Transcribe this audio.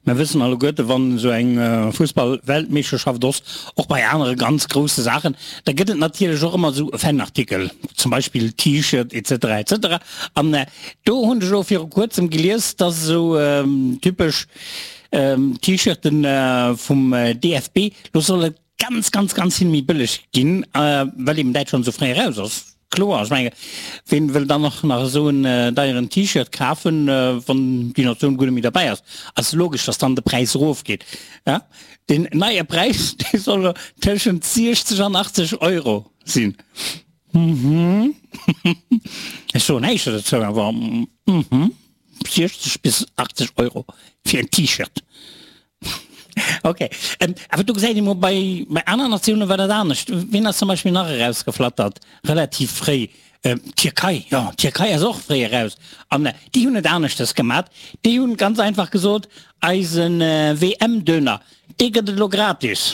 Mer wëssen alleguerte, wann esou eng Fussball-Weltmeeschterschaft ass, och bei anere ganz grousse Saachen, da gëtt et natierlech och ëmmer esou Fanartikel, zum Beispill T-Shirt etc. Etc. An do hunn ech elo viru kuerzem gelies, dass esou typesch T-Shirten vum DFB lo solle ganz, ganz, ganz vill méi bëlleg ginn, well eben Däitschland esou fréi eraus ass. Kloer, ech menge ween wëll dann och nach esou en deieren T-Shirt kafen, wann déi Natioun guer net méi derbäi ass. Ass logesch, dass dann de Präis erofgeet. Ja, deen neie Präis, dee soll elo tëschent 60 an 80 Euro sinn. Mhm. Ech soen näischt dozou, awer mhm, 60 bis 80 Euro fir en T-Shirt. Ok, awer do gesäit ee mol, bei bei aner Natioune war dat anescht. Wien ass zum Beispill nach erausgeflattert relativ fréi? D'Tierkei, jo, d'Tierkei ass och fréi eraus an déi hunn et aneschtes gemat. Déi hunn ganz einfach gesot, eise WM-Döner, dee gëtt et elo gratis.